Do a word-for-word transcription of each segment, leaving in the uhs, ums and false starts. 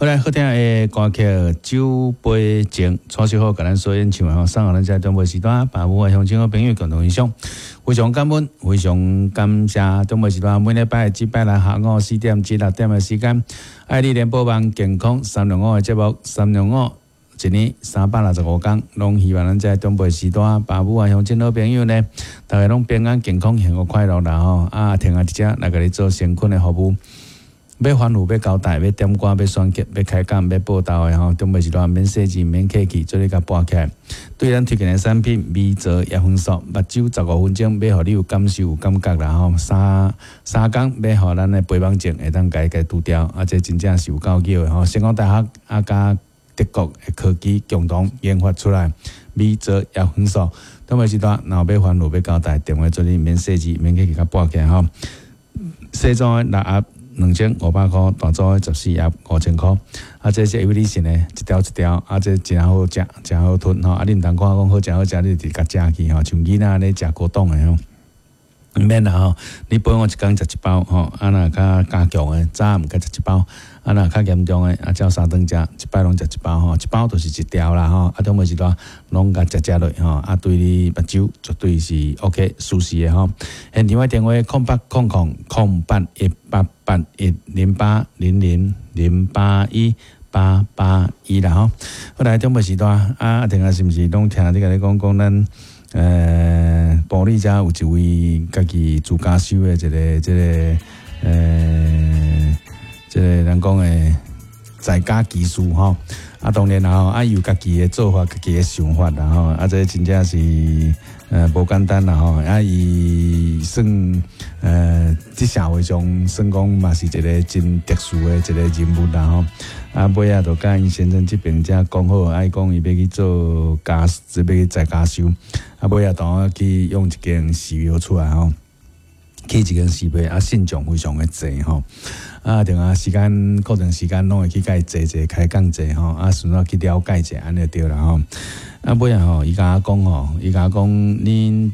好來，好聽的歌曲《酒杯情》，蔡秀好共咱所演唱的吼，送予咱遮長輩時段，爸母的鄉親好朋友共同欣賞，非常感恩，非常感謝長輩時段，每禮拜這拜六下午四點至六點的時間，愛你聯播網健康三六五的節目，三六五。一年三百六十五工，攏希望咱遮長輩時段，爸母啊、鄉親好朋友呢，逐家攏平安健康、幸福快樂啦吼！啊，停下佇遮來共你做誠懇的服務。欲吩咐、欲交代、欲點歌、欲選曲、欲開講、欲報道的吼，長輩時段免細緻、免客氣，做你共撥起來。對咱推薦的產品，微澤葉黃素，目睭十五分鐘，欲予你有感受、有感覺啦吼。三三工欲予咱的肥胖症會當共共除掉，啊，這真正是有夠叫的吼。成功大學啊，佮德國的科技共同研發出來，微澤葉黃素。長輩時段，若欲吩咐、欲交代，電話做你免細緻、免客氣，共撥起來吼。細組的六盒兩千五百箍，大組的十四盒五千箍。啊，這是有利性的，一條一條，啊，這誠好食，誠好吞吼。啊，你毋通看講好食好食，你就直共食去吼，像囡仔咧食果凍的吼。毋免啦吼，你陪我一工食一包吼，啊若較加強的，早暗閣食一包，啊若較嚴重的，啊照三頓食，一擺攏食一包吼，一包就是一條啦吼，啊長輩時段攏共食食落吼，啊對你目睭絕對是 OK 舒適的吼。現場的電話空八空空空八一八八一零八零零零八一八八一啦吼。好來，長輩時段啊，聽下是毋是攏聽你共你講講咱？呃，埔里遮有一位家己做家修的一个，這个，呃，這个人講的在家技師吼，啊，當然啦吼，啊，有家己的做法，家己的想法啦吼，啊，這真正是呃無簡單啦吼，啊，伊算呃，佇社會上算講嘛是一个真特殊的一个人物啦吼。啊，尾仔就佮𪜶先生這邊才講好，啊，伊講伊欲去做家，欲去在家修，啊，尾仔當去用一間寺廟出來吼，去一間寺廟，啊，信眾非常的濟吼，啊，定啊時間固定時間攏會去共伊坐坐開講者吼，啊，順便去了解者，按呢就對啦吼。啊，尾仔吼，伊共我講吼，伊共我講，恁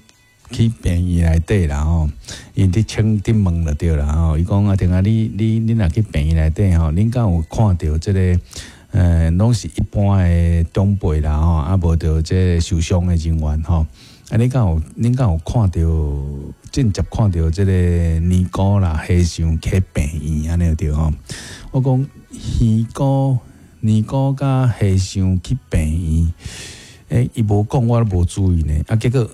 去病院內底啦吼，𪜶佇請佇問就對啦吼。伊講啊，定啊，你你你若去病院內底吼，恁敢有看著這个，呃，攏是一般的長輩啦吼，啊，無著這个受傷的人員吼。啊，你敢有恁敢有看著間接看著這个尼姑啦、和尚去病院按呢對吼？我講尼姑、尼姑佮和尚去病院，欸，伊無講，我都無注意呢。啊，結果。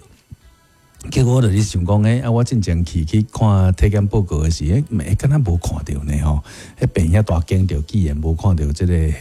結果我就咧想講，欸，啊，我進前去去看體檢報告的時，欸，欸，敢若無看著呢吼？彼病院遐大間著，居然無看著這个。